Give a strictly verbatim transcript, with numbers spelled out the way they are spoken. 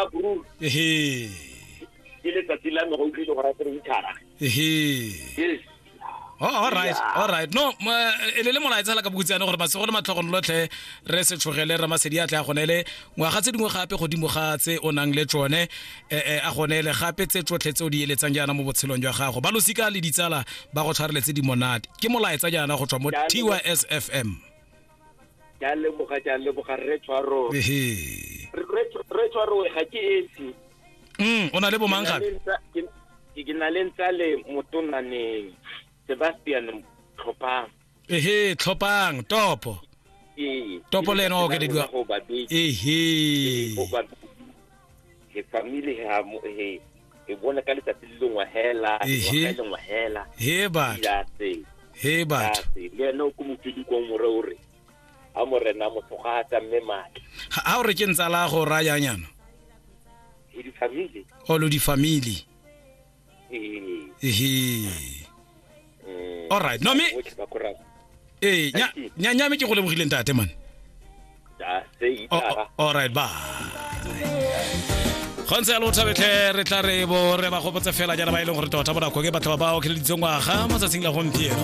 ga Broer. Ehe. Ke letsatsi la me go utlwile gore a tere itshara. Ehe. Yes. Oh, all right, all right. No, e le le molaetsa la ka bokutsane gore masego le matlhogonolotlhe re se tshogele re masedi a tle a gonele ngwaga tse dingwe gape godimo ga tse o nang le tsone eh a gonele gape tse tsotlhe tse o di eletsang jaana mo botshelong jwa gago. Ba losika le ditsala ba go tshwarele tse di monate. Ke molaetsa jaana go tswa mo T Y S F M. Ke a leboga, ke a leboga rre Tshwaro. Ehe. Rre Tshwaro ga ke esi. Mm, o na le bo mang gape? Ke na le ntsa le motonaneng Sebastian Tlhopang. Ehe, Tlhopang, topo. Ee. Topo le ena o okelediwa. Ehe. He family ha he e bona ka letsatsi le lengwe hela, Ehe. le lengwe hela. He batho. He batho. Le ena o ko mofidi kwa more o re. A morena motho ga a tsamme matla. Ha o re ke ntsa la go raya nyana. He di family. O lo di family. Ee. Ehe. All right. No me. Eh, nya nya nya me ke go lebogile ntate man. Ja, se itara. All right, bye. Gontse lo thabetlhe re tla re bo re ba gopotse fela jaana ba e leng gore tota bo nako ke batho ba ba okeleditseng ngwaga mo tsatsing la gompieno.